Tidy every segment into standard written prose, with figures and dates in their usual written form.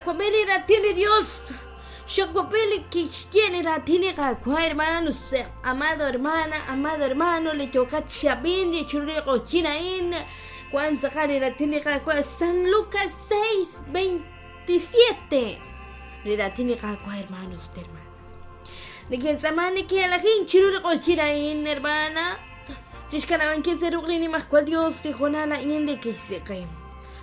Wab'i li raatin li Dios. Xawab'i li kixye li raatin li Qaawa', hermanos, amado hermana, amado hermano, li yookat chi ab'ink li chiru li q'oqyink a'in. Wan tz'aqal li raatin li Qaawa' San Lucas 6:27. Li raatin li Qaawa', hermanos ut hermanas. Neke'tz'aaman neke'elajink chiru li q'oqyink a'in, hermana. Chixkanab'ankil sa' ruq' li Nimajwal Dios li hoonal a'in li kixsi' qe.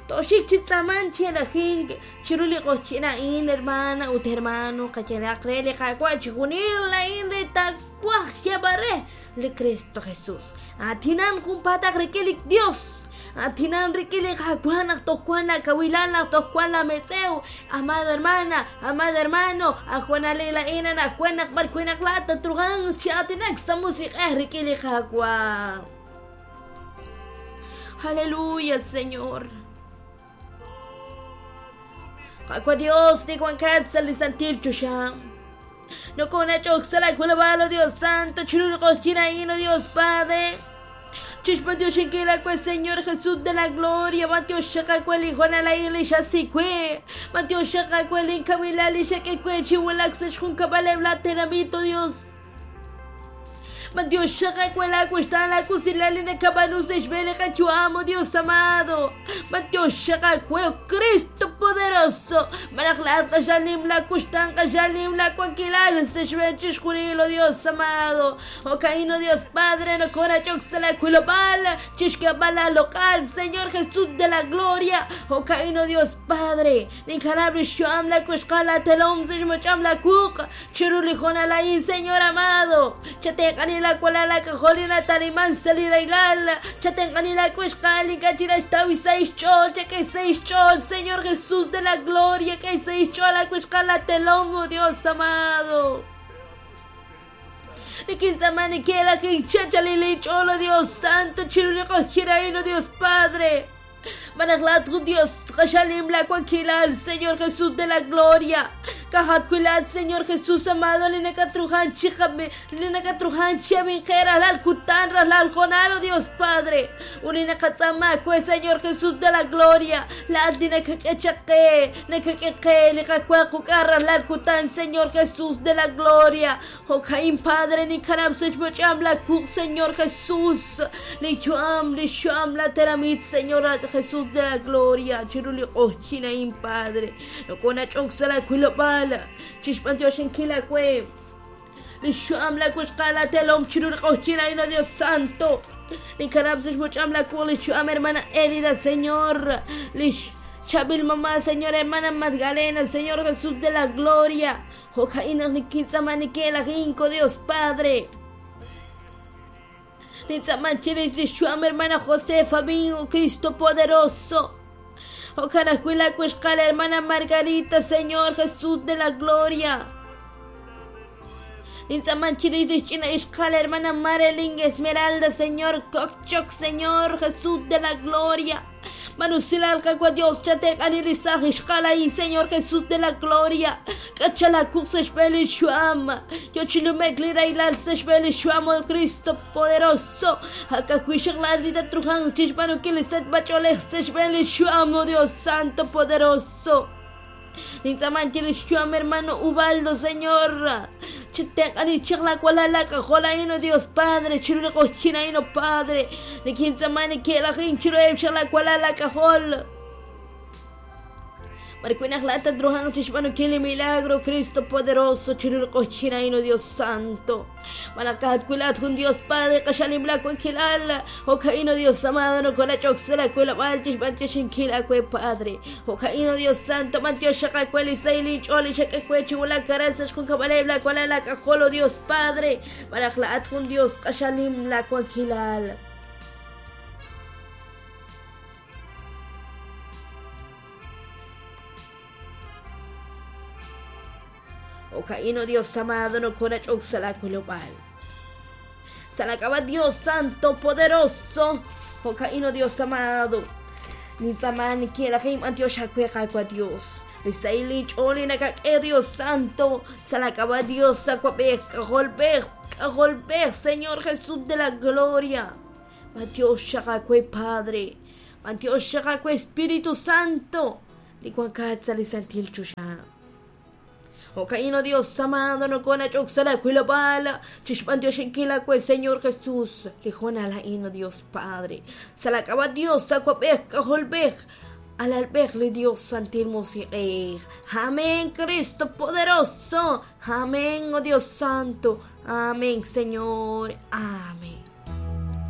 Tooxik chi tz'aamank chi elajink chiru li q'oqyink a'in, hermana ut hermano, qayehaq re li Qaawa' chixjunil a'in li taawaj xyeeb'al re li Kristo Jesus. Aatinan junpaataq rik'in li Dios. Aatinan rik'in li Qaawa' naq toj wan laakawilal, naq toj wan laametz'ew. Amado hermana, amado hermano, ajwanalil a'in anaqwan naq b'ar wi' naq laa'at tatruhanq chi aatinak sa' musiq'ej rik'in li Qaawa'. Aleluya, Señor. Qaawa' Dios li wankat sa' li santil choxa. Nokonach'ok sa' laakulub'aal, oh Dios Santo, chiru li q'oqyink a'in, oh Dios Padre. Chixb'antioxinkil aawe, Señor Jesús de la Gloria, b'antioxaq aawe li hoonal a'in li xasi we, b'antioxaq aawe linkawilal li xak'e we chi wulak sa' xjunkab'aleb' laatenamit, oh Dios. B'antioxaq aawe laawuxtaan laawusilal li nakab'aanu sa' xb'een li qayu'am, oh Dios amado. B'antioxaq aawe, oh Cristo poderoso. Malaj laa'at q'axal nim laawuxtaan, q'axal nim laawankilal sa' xb'een chixjunil, oh Dios amado. Jo'ka'in, oh Dios Padre, nokoonach'ok sa' laawilob'aal chixk'eeb'al laaloq'al, Señor Jesús de la gloria. Jo'ka'in, oh Dios Padre, ninkanab' li xyu'am laawixqal laatelom sa' xmoch'am laawuq' Chiru li hoonal a'in, Señor amado, chatenq'ani laawalal laak'ajol li nataliman sa' li rahilal, chatenq'ani laawixqa'al li ink'a' chik naxtaw sahil xch'ool, chak'e sahil xch'ool, Señor Jesús de la gloria, k'e sahil xch'ool laawixqa'al laatelom, oh Dios amado. Nikintz'aama neke'lajink chachalil inch'ool, oh Dios Santo, chiru li q'oqyink a'in, oh Dios Padre. Malaj laa'at jun Dios q'axal nim laawankilal, Señor Jesús de la gloria. Ka'ajwi' laa'at, Señor Jesús amado, li nakatruhan chi li nakatruhan chi ab'inqe rajlal kutan, rajlal hoonal, oh Dios Padre. Ut li naqatz'aama aawe, Señor Jesús de la gloria, laa'at li nakak'e chaq qe, nakak'e qe li qawa quk'a rajlal kutan, Señor Jesús de la gloria. Jo'ka'in Padre ninkanab' sa' xb'och'am la wuq' Señor Jesús, li yu'am, li xyu'am la tenamit Señor Jesús de la gloria, chiru li q'oqyink a'in Padre, nokonach'ok sa' la wilob'aal chixb'antioxinkil aawe li xyu'am la wuxqal la telom chiru li q'oqyink a'in, oh Dios Santo. Ninkanab' sa' xb'och'am la wuq' li xyu'am hermana Elida, Señor, li chaab'il mamá, Señor hermana Magdalena, Señor Jesús de la gloria. Jo'ka'in naq nikintz'aama neke'lajink, oh Dios Padre. Nintz'aama chirix li xyu'am hermana Josefa, oh Cristo poderoso. Jo'kan ajwi' laawixqal hermana Margarita, Señor Jesús de la gloria. Nintz'aama chirix li xch'ina ixqal hermana Marilyn Esmeralda, Señor Kokchok, Señor Jesús de la gloria. Manusilal Qaawa' Dios, chatenq'ani li saaj ixqal a'in, Señor Jesús de la gloria. K'achalakuq sa' xb'een li xyu'am. Yo chi nume'k li rahilal sa' xb'een li xyu'am, oh Cristo poderoso. Ak'ajwi' xaqlaal li tatruhanq chixb'aanunkil li sachb'ach'oolej sa' xb'een li xyu'am, oh Dios Santo poderoso. Nintz'aaman chirix xyu'am hermano Ubaldo, Señor. Chitenq'ani chaq laawalal laak'ajol a'in, oh Dios Padre, chiru li q'oqyink a'in, oh Padre. Nikintz'aaman neke'lajink chiruheb' chaq laawalal laak'ajol. B'ar wi' naq laa'at tatruhanq chixb'aanunkil li milagro, Cristo poderoso, chiru li q'oqyink a'in, oh Dios Santo. Malaj ka'ajwi' laa'at jun Dios Padre q'axal nim laawankilal. Jo'ka'in, oh Dios amado, nokonach'ok sa' laawilob'aal chixb'antioxinkil aawe, Padre. Jo'ka'in, oh Dios Santo, b'antioxaq aawe li sahil inch'ool li xak'e we chi wulak aran sa' xjunkab'aleb' laawalal laak'ajol, oh Dios Padre. Malaj laa'at jun Dios q'axal nim laawankilal. Jo'ka'in, oh Dios amado, nokonach'ok sa' laawilob'aal. Sa' laak'ab'a' Dios Santo Poderoso. Jo'ka'in, oh Dios amado. Nintz'aama neke'lajink b'antiox aawe Qaawa' Dios. Li sahil inch'ool li nakak'e Dios Santo. Sa' laak'ab'a' Dios Awab'ej, K'ajolb'ej, K'ajolb'ej, Señor Jesús de la Gloria. B'antiox xaq aawe Padre. B'antiox xaq aawe Espíritu Santo. Li wankat sa' li santil choxa. Jo'ka'in, oh Dios amado, nokonach'ok sa' laa wilob'aal chixb'antioxinkil aawe, Señor Jesús, li hoonal a'in, oh Dios Padre. Sa' laa k'ab'a' Dios, Awab'ej, K'ajolb'ej, Alalb'ej li Dios Santil Musiq'ej. Amén, Cristo poderoso. Amén, oh Dios Santo. Amén, Señor. Amén.